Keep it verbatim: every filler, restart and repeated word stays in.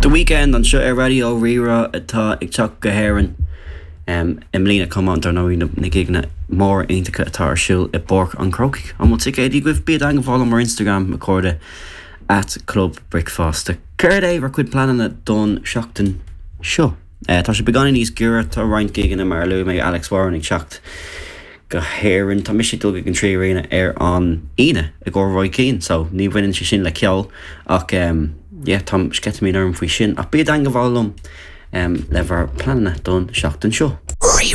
The Weeknd anseo ar Raidió Rí-Rá atá ag teacht go hÉirinn um, i mbliana chomh maith dar ndóigh na, na gigeanna móra iontacha atá ar siúl i bPáirc an Chrócaigh. An bhfuil ticéidí agaibh bí i dteagmháil liom ar Instagram a chairde at Club Bricfeasta. Céard é bhur gcuid pleananna don seachtain seo. Uh, tá sé beagáinín níos giorra tá roinnt gigeanna mar a luaigh mé Alex Warren ag teacht go hÉirinn Tá mise ag dul ag an Trí Arena ar an Aoine i gcomhair Roy Keane, so ní bhaineann sé sin le ceol ach um, yeah, tá sceitimíní orm faoi sin ach bí i dteagmháil liom um, le bhur bpleananna don seachtain seo. Rí